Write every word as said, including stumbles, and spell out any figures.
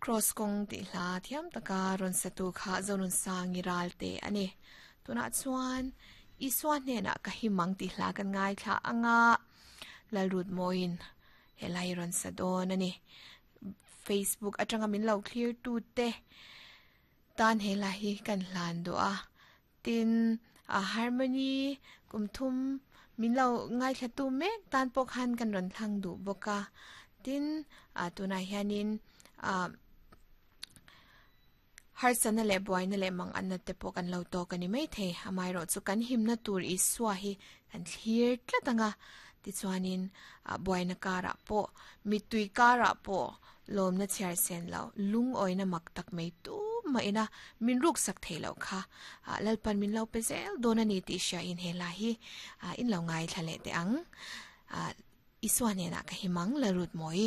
Cross kong ti hla thiam taka ron satu kha zonun sangi ral te ani. Tuna chuan Isua hnena ka himang ti hla kan ngai thla anga lalrut moin helai ron sadon ani. Facebook atanga min lo clear tu te tan hela hi kan hlan do a tin a harmony kumthum min lo ngai thla tu mek tan pok han kan ron thlang du boka tin a tuna hianin a har sana le boy na le mang an na te pok an lo to kani mai thei amai ro chu kan him na tur i suwa hi kan thlir tlatanga ti chuanin a boy na kara po mitui kara po lom na chiar sen lo lung oi na mak tak mai tu ma ina min ruk sak thailo kha lalpan min lo pe zel dona ni ti sha in hela hi in lo ngai thlale te ang iswa ne na ka himang larut moi.